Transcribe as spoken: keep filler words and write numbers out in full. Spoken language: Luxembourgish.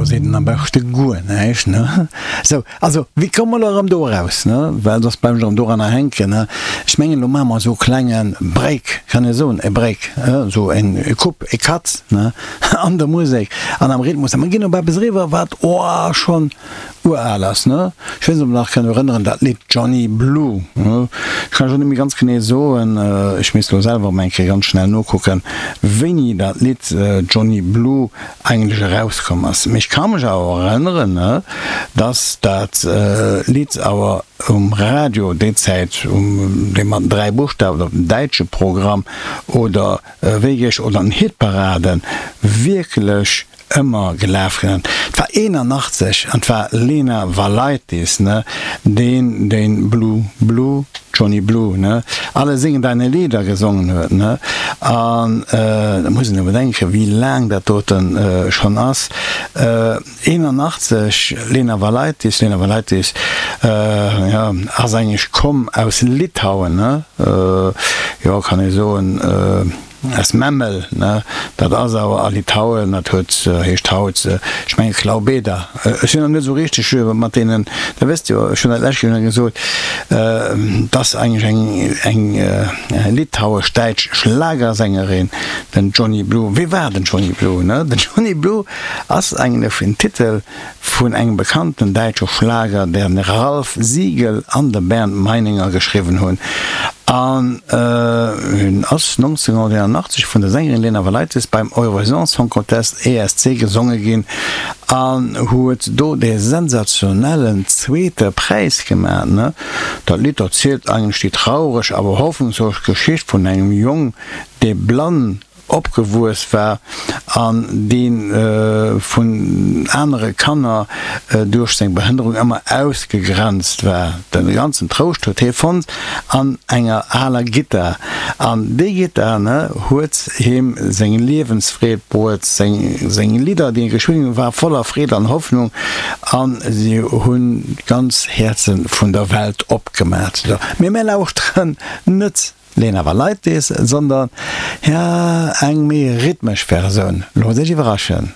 seet en am beschte guer näischt, ne? Sou, also, wéi komme mer elo erëm do eraus, ne? Well soss bleiwen ech erëm doranner hänken, ne? Ech mengen, elo maache mer esou e klenge Break, kann ee soen, e Break, esou en Coupe, e Cut, ne, an der Musek an am Rhythmus a mer ginn op eppes eriwwer, wat, oh, schonn ural ass, ne? Ech weess net, ob der nach kënnt erënneren, dat Lidd Johnny Blue, ne? Ech kann lech och net méi ganz genee soen, ech misst elo selwer emol eng Kéier ganz schnell nokucken, wéini dat Lidd Johnny Blue eigentlech erauskomm ass. Mee ech ka mech awer erënneren, ne, dass dat Lidd awer um Radio déi Zäit, um dee mat den dräi Buschtawen op dem däitsche Programm oder wéi geech, oder an den Hitparaden wierklech ëmmer gelaf ginn. Et war eenanachtzeg an et war Lena Valaitis, ne, deen deen Blue, Blue, Johnny Blue, ne, Alle singen deine Lieder gesongen huet, ne. An da muss een elo bedenken, wéi laang dat doten schonn ass. Eenanachtzeg, Lena Valaitis, Lena Valaitis, jo, ass eigentlech komm aus Litauen, ne, jo, kann ee soen. Aus Memel, ne? Dat ass awer a Litauen, dat huet, heescht haut, ech mengen Klaubeda. Ech sinn nach net esou richteg mat deenen, der wësst jo, ech hunn dat lescht Joer gesot, et ass eigentlech eng, eng litauesch-däitsch Schlagersängerin, den Johnny Blue. Wie war den Johnny Blue, ne? Den Johnny Blue ass eigentlech en Titel vun engem bekannten däitsche Schlager, den Ralph Siegel an de Bernd Meininger geschriwwen hunn. An en ass nonzénhunnerteenanachtzeg vun der Sängerin Lena Valaitis beim Eurovision Song Contest, E S C, gesonge ginn an huet do dee sensationellen zweete Präis gemaach. Dat Lidd erzielt eigentlech déi traureg awer hoffnungsvoll Geschicht vun engem Jong, dee blann opgewuess war an dee vun anere Kanner duerch seng Behënnerung ëmmer ausgegrenzt war. De ganzen Trouscht huet hie fonnt an enger aler Gittar. An déi Gittar huet him seng Liewensfreed bruet. Seng Lidder, déi e geschriwwen huet, ware voller Freed an Hoffnung a si hunn d'ganz Häerze vun der Welt opgemat. Mee mir lauschteren net Lena Valaitis, sondern, ja, eng méi rhythmesch Versioun. Loosst iech iwwerraschen.